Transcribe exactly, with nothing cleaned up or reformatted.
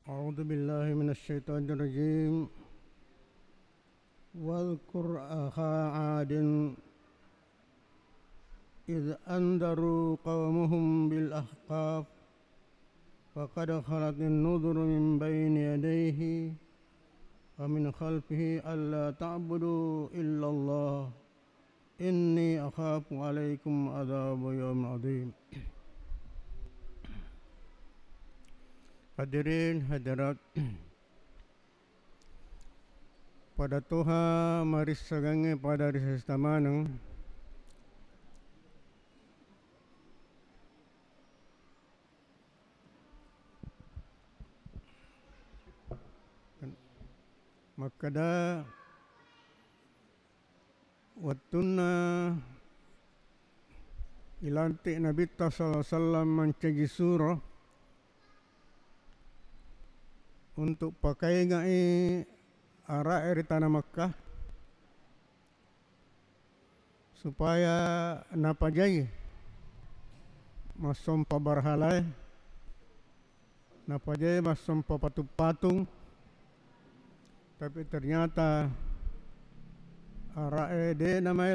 أعوذ بالله من الشيطان الرجيم. واذكر أخا عاد إذ أنذروا قومهم بالأحقاف فقد خلت النذر من بين يديه ومن خلفه ألا تعبدوا إلا الله إني أخاف عليكم عذاب يوم عظيم. Hadirin hadirat, pada toha marissagangnge pada ri sesta maneng. Makkeda wettunna ilantik Nabitta sallallahu alaihi wasallam mancaji suro untuk pakaingai ara'e ri tana Makkah, supaya napajai massompa barhalae, napajai massompa patung-patung, tapi ternyata ara'e de' namae